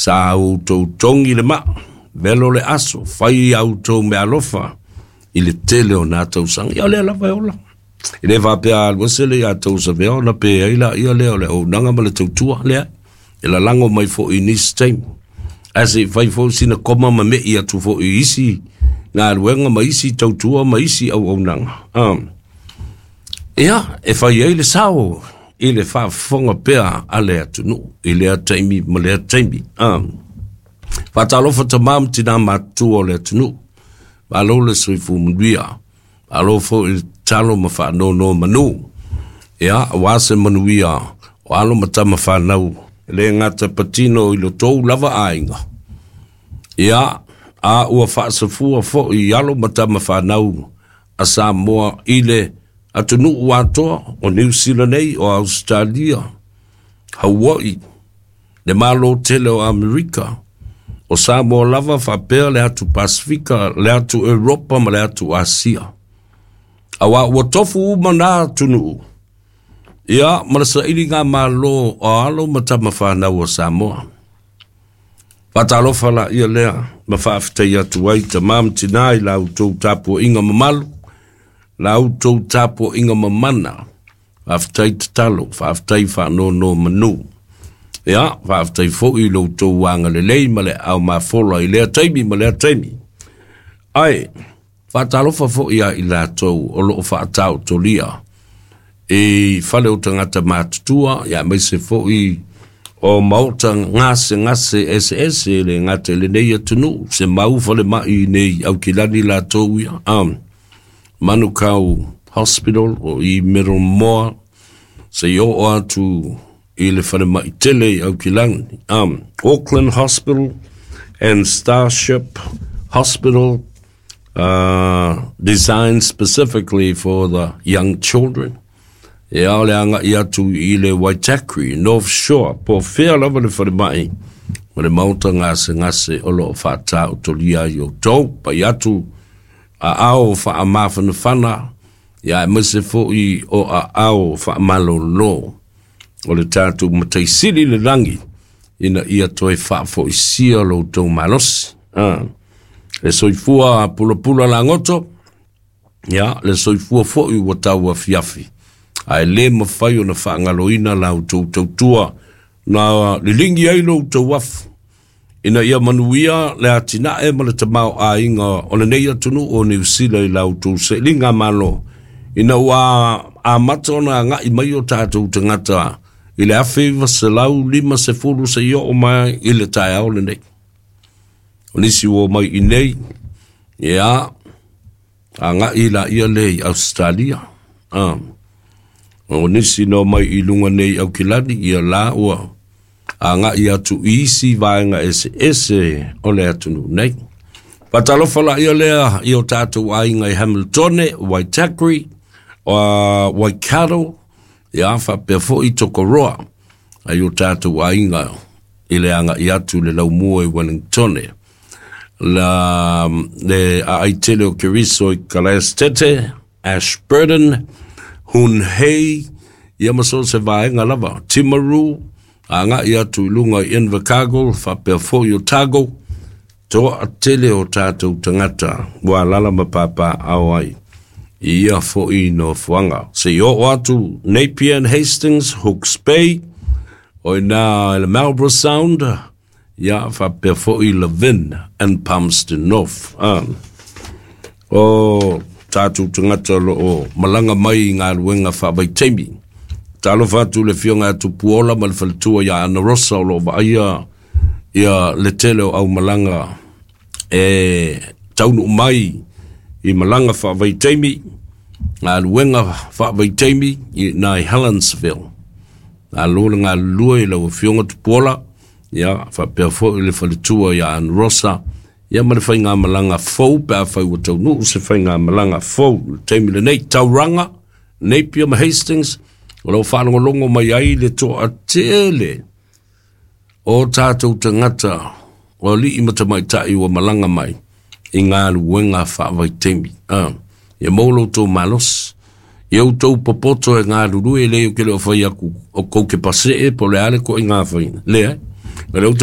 Sa outou togi le maa, velo le aso, fai a outou meaalofa i le tele o na tausaga. Ia o lea lava e ola. E le faapea a alu ese le ia tou savea ona pe ai laia lea o le auaunaga ma le tautua lea. E lalago mai foi i nisi taimi. Ae se i fai foi sina koma ma me'i atu foi i isi galuega ma isi tautua ma isi auaunaga. Ia, e fai ai le sao i le faafofoga pea a le atunuu i lea taimi ma lea taimi. Faatalofa tamā ma tinā matutua o le atunuu. Malo le soifua manuia. Malo foi i le tatalo ma faanonomanu. Ia, aua se manuia o alo ma tama fanau, e le gata patino i lo tou lava aiga. Ia, a ua faasafua foi i alo ma tama fanau a Samoa i le atunuu atoa o Niu Sila nei, o Ausetalia, Hawaii, le Malo tele o Amerika, o Samoa lava faapea le atu Pasifika, le atu Europa ma le atu Asia. Aua ua tofu uma na atunuu, ia ma le sailigamalo o alo ma tama fanau a Samoa. Faatalofa laia lea ma faafetai atu ai tamā ma tinā i la outou tapuaiga mamalu, la outou tapuaiga mamana. Faafetai tatalo, faafetai faanonomanu. Ia, faafetai foi i lo outou agalelei ma le aao mafola i lea taimi ma lea taimi. Ae, faatalofa foi ia i latou o lo o faataotolia i fale o tagata matutua, ia aemaise foi o maota gasegase eseese e le gata i lenei atunuu, se mau falemai i nei Aukilani latou ia. Manukau Hospital o i Middlemore, se i oo atu i le falemai tele i Aukilani. Auckland Hospital and Starship Hospital, designed specifically for the young children. Ia, o le agai atu i le Waitakere, North Shore, po o fea lava le falemai ma le maota gasegase o lo o faataotolia ai outou. Pai atu aao faamafanafana, ia aemaise foi o aao faamalolo o le tatou Matai Sili i le lagi ina ia toe faafoisia lo outou malosi. Le soifua pulapula lagoto, ia le soifua foi ua tauafiafi, ae le mafai ona faagaloina la outou tautua na liligi ai lo outou afu ina ia manuia le atinae ma le tamaoaiga o lenei atunuu o Niu Sila i la outou sailigamalo ina ua amata ona agai mai o tatou tagata i le 1950 seia oo mai i le taeao lenei. O nisi ua omai i nei, ia, agai laia lea i Ausetalia. O nisi na omai i luga nei i Aukilani, ia la ua agai atu i isi vaega eseese o le atunuu nei. Faatalofa laia lea i o tatou aiga i Hamiltone, Waitakere, Waikato, ia faapea foi Tokoroa, ai o tatou aiga i le agai atu i le laumua i Wellingtone. La, le aai tele o Keriso i Kalaestete, Ashburton, Hun Hei, ia ma so se vaega lava, Timaru, agai atu i luga i Invercargill, faapea foi Otago, toatele o tatou tagata ua alaala ma papaaao ai i ia foi nofoaga. Se i oo atu Napier and Hastings, Hawke's Bay, o i ina i le Marlborough Sound, ia faapea foi Levin and Palmerston North. O tatou tagata o lo o malaga mai i galuega faavaitaimi. Talofa atu i le Afioga ia Tupuola ma le faletua ia Ana Rosa o lo o vaaia ia le tele o aumalaga e taunuu mai i malaga faavaitaimi, galuega faavaitaimi i ina i Helensville. Malo le galulue i lau Afioga Tupuola, ia faapea foi le faletua ia Ann Rosa, ia ma le faigamalaga fou pe afai ua taunuu se faigamalaga fou i le taimi lenei. Tauranga, Napier ma Hastings, o lo o faalogologo mai ai le toatele o tatou tagata o alii ma tamaitai ua malaga mai i galuega faavaitaimi. Ia maua lo outou malosi. Ia outou popoto e galulue, e leai ou te le o fai atu o kou te pasee po o le a le toaiga faiga. Leai. O lea ou te